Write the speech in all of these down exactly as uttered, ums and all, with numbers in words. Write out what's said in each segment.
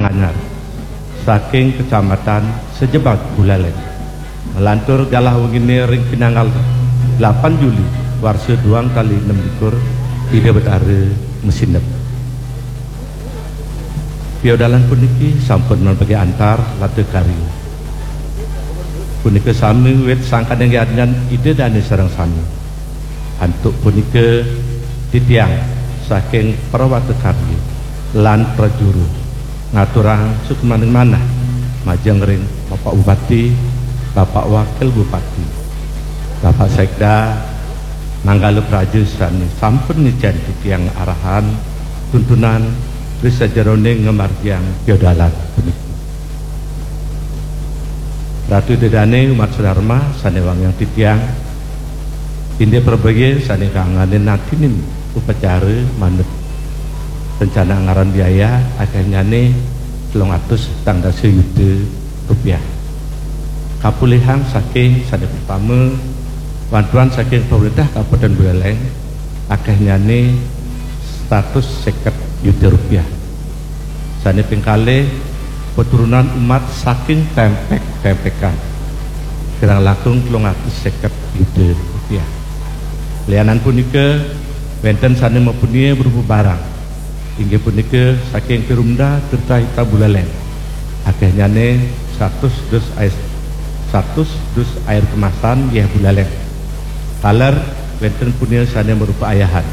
Anyar, saking Kecamatan Sejebat, Buleleng. Nglantur galah wengine ring pinanggal delapan Juli warsa duang tali enam likur, Ida Betara masineb. Piodalan puniki sampun mapagi antar lata karya. Punika sami wit sangkaning yadnyan Ida Dane sareng sami. Antuk punika titiang saking Prawata Karya lan Prajuru ngaturang suksmaning manah majeng ring Bapak Bupati, Bapak Wakil Bupati, Bapak Sekda, manggala praja sane sampun ngicen titiang arahan tuntunan ri sajeroning ngamargiang piodalan puniki. Ratu Ida Dane, umat sedharma sane wangiang titiang, indik prabaya sane kangane natinin upacara manut rencana anggaran biaya akehnyane telung atus petang dasa yuta rupiah. Kapulihang saking sane pertama, bantuan saking pemerintah Kabupaten Buleleng akehnyane seratus seket yuta rupiah. Sane ping kalih, peturunan umat saking tempek-tempekan kirang langkung telung atus seket yuta rupiah. Lianan punika, wenten sane mapunia berupa barang, inggih punika saking Perumda Tirta Hita Buleleng, akehnyane seratus dus air, seratus dus air kemasan yeh Buleleng. Taler wenten punia sane marupa ayahan,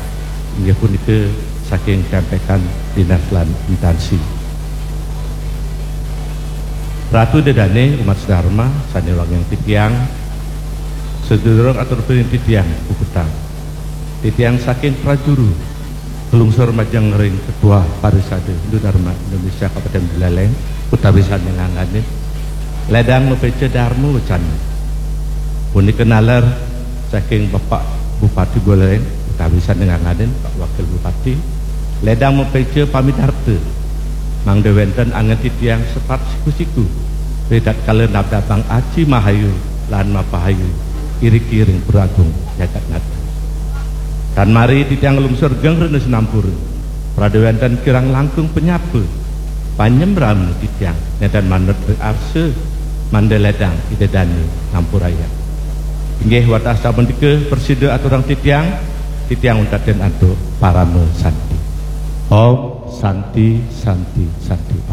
inggih punika saking tempekan dinas lan instansi. Ratu Ida Dane, umat sedharma sane wangiang titiang, sadurung atur piring titiang puputang. Titiang saking Prajuru kalungsur majeng ring Ketua Parisada Hindu Dharma Indonesia Kabupaten Buleleng, utawi sane ngangganin ledang mapeca dharma wecana. Punika naler saking Bapak Bupati Buleleng, utawi sane ngangganin Pak Wakil Bupati, ledang mapeca pamidarta, mangda wenten angen titiang sepat siku-siku, ritatkala nabdabang aci mahayu lan mapahayu iriki ring Pura Agung jagat nata. Tan mari titiang nglungsur geng rena sinampura, prada wenten kirang langkung panyapa, panyembrama titiang nenten manut ring arsa mangda ledang Ida Dane ngampurayang. Inggih, wantah sapunika prasida aturang titiang, titiang untatin antuk parama santi. Om Santi, Santi, Santi Om.